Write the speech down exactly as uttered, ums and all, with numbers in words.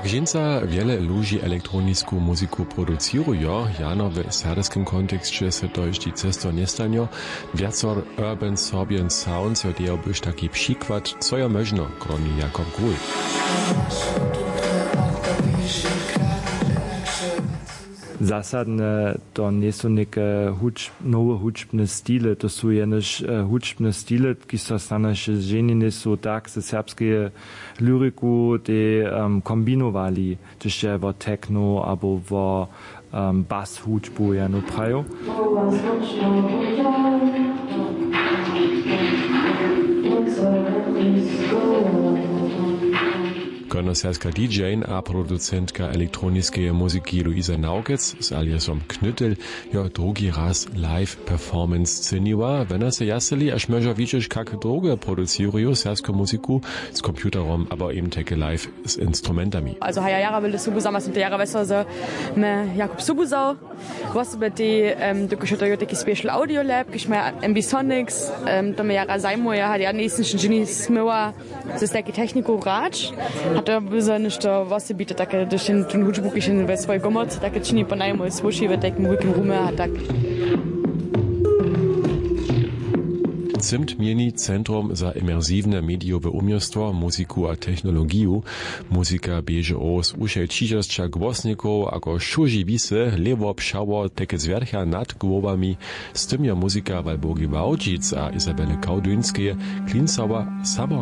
Dźensa wjele ludźi elektronisku muziku producirujo, jano w serbskim konteksće se to hišći često njestanjo. Wjaco urban sobian sounds jo dejo byš taki přikład, co jo móžno, kroni Jakob Grul. Zasadne to njejsu něke huč-, nowe hudźbne stile, to su jenož hudźbne stile, kiž so stanoše ženje njejsu tak ze serbskeje lyriku te kombinowali, hdyž je wo techno abo wo bas hudźbu jeno prajił. Konoserska didźejn a producentka elektroniskeje muziki luisa naukec z aliasom knytel jo drugi raz live performance sceniła. Wena se jaseli až móžo widźeć kak druge produciruju serbsku muziku z computerom abo eben tajke live z instrumentami. Also haja jara wjele subu zama sym to jara wjesel z me jakub subu zał. Wosebje tej dokelž je to jo taki special audio lab kiž maja ambisonics, to me jara zajmuje a ja njejsym šedźeni smyła z tajki techniku hrać. A to by za něšto wosebite take, hdyž jen tón hudźbu kiž jen we swojej komorce take čini po najmoj słyši we tajkim wulkim rumy a tak. Cymt měni centrum za imersiwne medijowe uměstwo muziku a technologiju. Muzika běže owos wušej tśižasća głosnikow ako šuži wisy lěwo pšało teke zwjercha nad głowami. Z tym jo muzika walburgi wałčic a isabele kałduńskeje klincała samo.